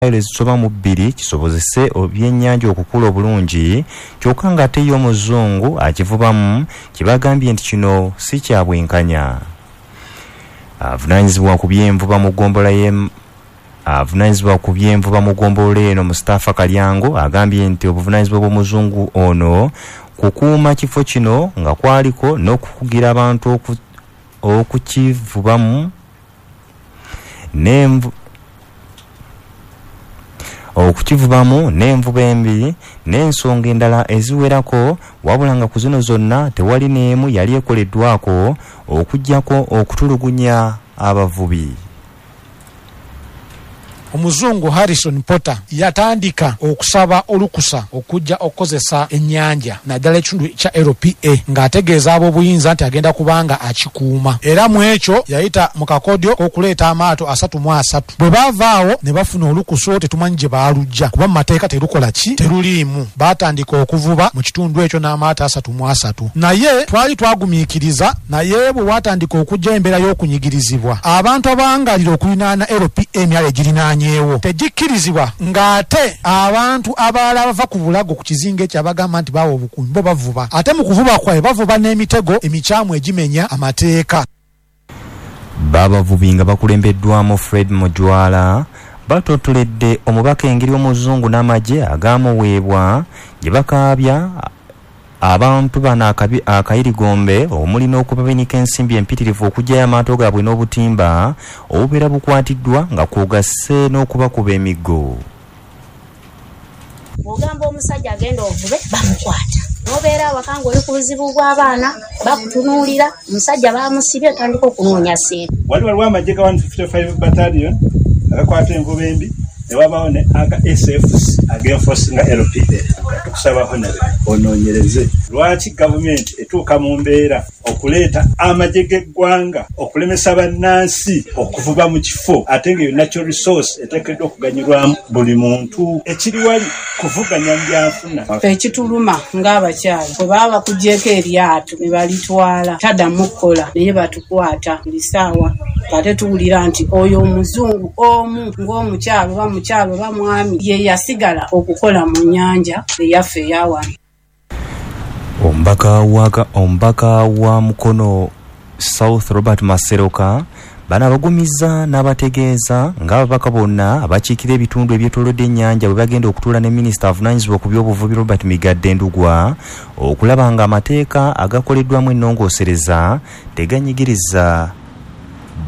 Mayiro ezisoba mu 2 kisobozese ebyennyanja okukula obulungi, kyokka ng'ate ye omuzungu akivubamu kibagambye nti kino si kya bwenkanya. Avunaanyizibwa ku byenvuba mu ggombolola y'e avunaanyizibwa ku byenvuba mu ggombolola eno Mustafa Kalyango agambye nti obuvunaanyizibwa bw'omuzungu ono kukuuma kifo kino nga kwaliko n'okukugira abantu okukivubamu okukivubamu n'envuba embi n'ensonga endala eziwerako, wabula nga ku zino zonna tewali n'emu yali ekoleddwako okuggyako okutulugunya abavubi. Omuzungu Harrison Potter yatandika okusaba olukusa okujja okukozesa ennyanja naddala ekitundu kya LPA ng'ategeeza ab'obuyinza nti agenda kubanga akikuuma, era mu ekyo yayita mu kakodyo k'okuleeta amaato 33. Bwe baava awo ne bafuna olukusa olwo tetumanyi gye baalujja kuba mu mateeka terukola ki, teruliimu. Baatandika okuvuba mu kitundu ekyo n'amaato 33, naye twali twagumiikiriza, naye bwe waatandika okujja embeera y'okunyigirizibwa abantu abawangalira okulinaana LPA emyalo egirinaanyeewo tegikkirizibwa, ng'ate abantu abalala abava ku bulago ku kizinga ekyo abagamba nti baawa obukuumi bo bavuba, ate mu kuvuba kwabwe bavuba n'emitego emikyamu egimenya amateeka. Babavubi nga bakulembeddwamu Fred Mujwala batottoledde omubaka engeri omuzungu n'amagye agaamuweebwa gye bakaabya abantu bano akayirigombe omuli n'okubabinika ensimbi empitirivu okuggyayo amaato gaabwe n'obutimba obubeera bukwatiddwa nga kwogasse n'okubakuba emiggo. Bw'ogamba omusajja agenda ovube bamukwata, n'obeera awaka ng'oli ku buzibu bw'abaana bakutunuulira, omusajja bamusibye otandika okunoonya ssente. Waliwo amagye ga 155 battalion agakwata envuba embi ne wabaawo ne aga SFC ag'enforcinga LPA. Tukusaba Honorable onoonyereze lwaki gavumenti etuuka mu mbeera okuleeta amagye g'eggwanga okulemesa bannansi okuvuba mu kifo ate ng'eyo natural resource eteekeddwa okuganyulwamu buli muntu. Ekiri wali kuvuganya mu byanfuna. Ekituluma ng'abakyala bwe baba bakugyeko eryato ne balitwala taddamu kukola, naye batukwata buli ssaawa ate tuwulira nti oyo omuzungu omu ng'omukyala oba mukyala oba mwami ye yasigala okukola mu nnyanja eyaffe eyawano. Omubaka wa Mukono South Robert Maseroka bano abagumiza n'abategeeza ng'ababaka bonna abakiikira ebitundu ebyetoolodde ennyanja bwe bagenda okutuula ne minisita avunaanyizibwa ku by'obuvubi Robert Migadde Ndugwa okulaba ng'amateeka agakoleddwamu ennongoosereza teganyigiriza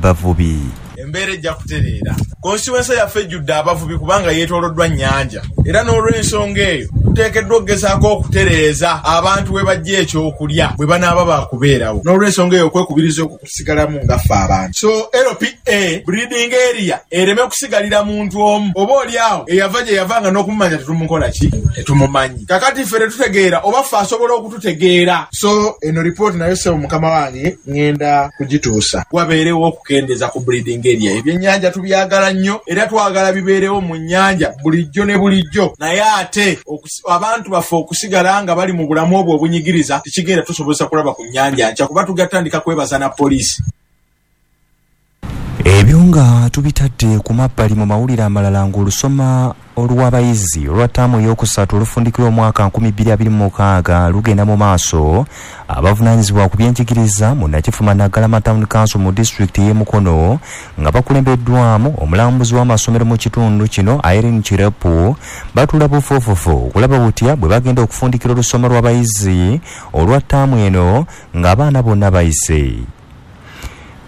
bavubi. Embeera ejja kutereera. Konstituensi yaffe ejjudde abavubi kubanga yeetooloddwa nnyanja, era n'olw'ensonga eyo tuteekeddwa okugezaako okutereeza abantu we bajja ekyokulya bwe banaaba baakubeerawo. N'olw'ensonga eyo okwekubiriza okwo kusigalamu nga ffe abantu. So LPA breeding area ereme kusigalira muntu omu oba oli awo eyava gye yava nga n'okumumanya tetumukola ki, tetumumanyi. Kakati ffe tetutegeera oba ffe asobola okututegeera. So eno ripooti nayo ssebo mukama wange ŋŋenda kugituusa. Wabeerewo okukendeeza ku breeding area. Ebyennyanja tubyagala nnyo era twagala bibeerewo mu nnyanja bulijjo ne bulijjo, naye ate abantu baffe okusigala nga bali mu bulamu obwo obunyigiriza tekigenda tusobozesa kulaba ku nnyanja nkya kuba tugatandika kwebaza na poliisi. Ebyo nga tubitadde ku mabbali mu mawulire amalala ng'olusoma olw'abayizi olwa ttaamu ey'okusatu olufundikira omwaka 2026 lugenda mu maaso, abavunaanyizibwa ku byenjigiriza mu Nakifuma Naggalama Town Council mu disitulikiti y'e Mukono nga bakulembeddwamu omulambuzi w'amasomero mu kitundu kino Irene Kirepu batuula bufuufufu okulaba butya bwe bagenda okufundikira olusoma lw'abayizi olwa ttaamu eno ng'abaana bonna bayise.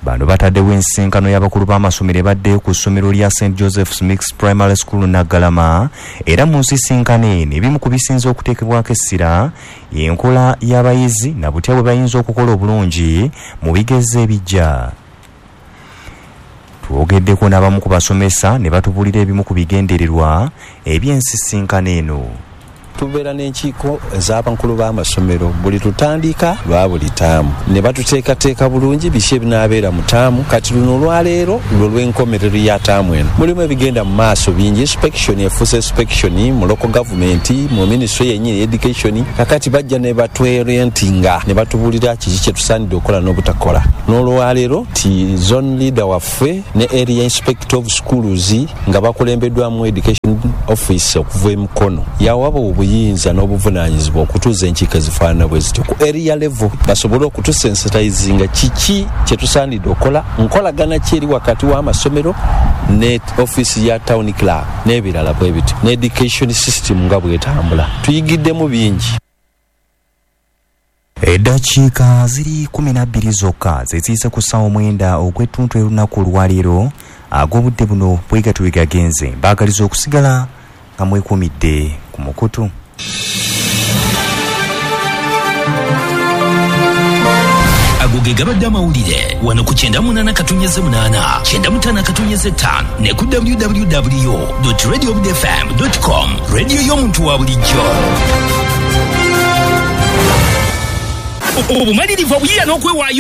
Bano bataddewo ensisinkano y'abakulu b'amasomero ebadde ku ssomero lya St Joseph's Mixed Primary School Naggalama, era mu nsisinkano eno ebimu ku bisinze okuteekebwako essira y'enkola y'abayizi na butya bwe bayinza okukola obulungi mu bigezo ebijja. Twogeddeko n'abamu ku basomesa ne batubuulira ebimu ku bigendererwa eby'ensisinkano eno. Tubeera n'enkiiko ez'abakulu b'amasomero buli tutandika lwa buli taamu ne batuteekateeka bulungi biki ebinaabeera mu taamu. Kati luno olwaleero lwo lw'enkomerero ya taamu eno, mulimu ebigenda mu maaso bingi. Inspection efuuse inspection mu local government, mu ministry yennyini education. Kakati bajja ne batworientinga ne batubuulira kiki kye tusaanidde okukola n'obutakola. N'olwaleero ti zone leader waffe ne area inspector of schools nga bakulembeddwamu education office okuva e Mukono yawaba obuyinza n'obuvunaanyizibwa okutuuza enkiiko ezifaanana bwe zityo ku area level, basobole okutusensitizinga kiki kye tusaanidde okukola, nkolagana ki eri wakati w'amasomero ne ofiisi ya town clerk n'ebirala bwe bityo, ne education system nga bwetambula. Tuyigiddemu bingi. Eddakiika ziri 12 zokka zeziyise ku ssaawa 9 ogw'ettuntu olunaku olwaleero. Ag'obudde buno bwe gatyo bwe gagenze. Mbaagaliza okusigala nga mwekuumidde ku mukutu. Ago ge gabadde amawulire wano ku 98.8, 95.5 ne ku www.radiobudfm.com, rediyo y'omuntu wa bulijjo. Obumalirivu, obuyiiya n'okwewaayo.